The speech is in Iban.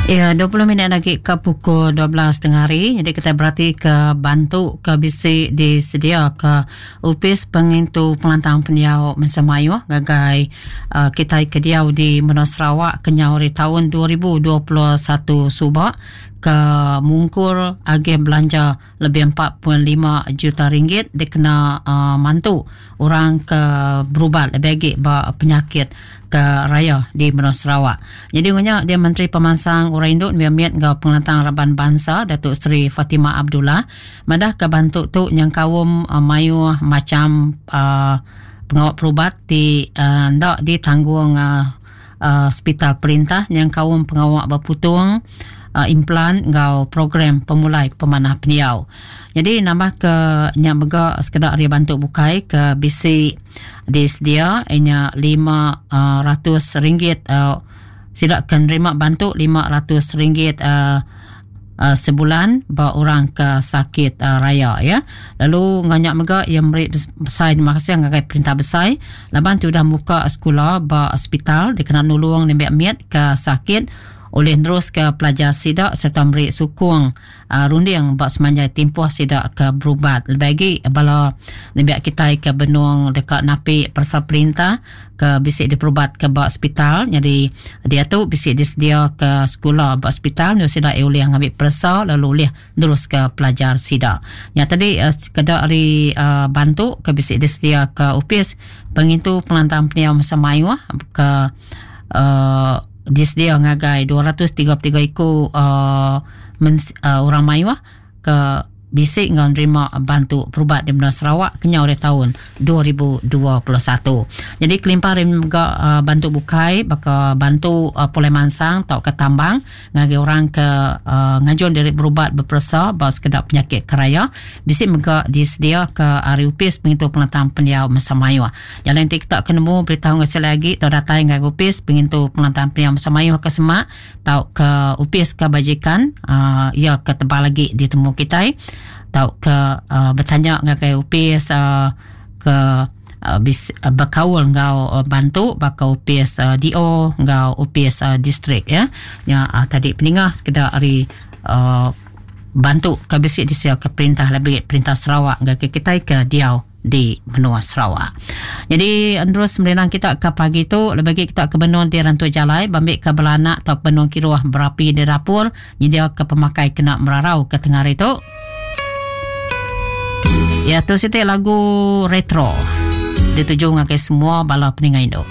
Ya, 20 minit lagi ke pukul 12 tengah hari. Jadi kita berarti ke bantu ke bisi disedia ke Opis Pengintu Pengelantang Pendiau Mensia Mayuh ngagai uh, kita ke diau di Menua Sarawak kenyau hari tahun 2021 suba ke mungkur agih belanja lebih 4.5 juta ringgit dikena uh, mantu orang ke berubat lebih agi ba penyakit ke raya di menua Sarawak. Jadi ngunya dia Menteri Pemansang Orang Indu Nembiak Mit enggau Pengelantang Raban Bansa Datuk Seri Fatimah Abdullah madah ke bantu tu nyengkaum uh, mayuh macam uh, pengawa perubat ti uh, enda ditanggung uh, uh, sepital perintah nyengkaum pengawa beputung uh, implan enggau program pemulai pemanah pendiau. Jadi nambah ke nya mega sekeda ari bantu bukai ke bisi disedia inya RM500 uh, sida ke nerima bantu RM500 uh, uh, sebulan ba orang ke sakit uh, raya ya. Lalu enggau nya mega iya meri besai terima kasih ngagai perintah besai laban ti udah muka sekula ba hospital dikena nulung nembiak mit ke sakit ulih neruska pelajar sida sereta meri sukung uh, runding ba semanjai timpuh sida ke berubat. Lebih agi bala nembiak kitai ke benung deka napi peresa perintah ke bisi diperubat ke ba hospital nyadi diatu bisi disedia ke sekula ba hospital nyau sida ulih ngambi peresa lalu ulih neruska pelajar sida. Nya tadi uh, sekeda ari uh, bantu ke bisi disedia ke opis pengintu pengelantang pendiau masa mayuh ke uh, disedia ngagai 233 iku uh, mens, uh, orang mayuh ke bisi enggau nerima bantu perubat di menua Sarawak kenyau ari taun 2021. Jadi kelimpah ari mega uh, bantu bukai baka bantu uh, pulai mansang tauka tambang ngagai orang ke uh, ngajun diri berubat beperesa ba sekeda penyakit keraya bisi mega disedia ke ari opis pengintu pengelantang pendiau Mensia Mayuh. Nya alai enti kita ke nemu berita enggau sekali agi tau datai ngagai opis pengintu pengelantang pendiau Mensia Mayuh ke semak tauka opis kebajikan uh, iya ke tebal agi ditemu kitai tauka uh, betanya ngagai opis uh, ke uh, bis, uh, bekaul enggau uh, bantu baka opis uh, DO enggau opis uh, distrik ya. Nya uh, tadi peningah sekeda ari uh, bantu ke bisi disediaka perintah lebih perintah Sarawak ngagai kitai ke diau di menua Sarawak. Jadi terus merenang kita ke pagi tu lebih lagi kita ke benung di rantu jalai bambi ke belanak atau benung kiruh berapi di dapur nyedia ke pemakai kena merarau ke tengah hari tu. Ya tu siti lagu retro dituju ngagai semua bala peninga indu.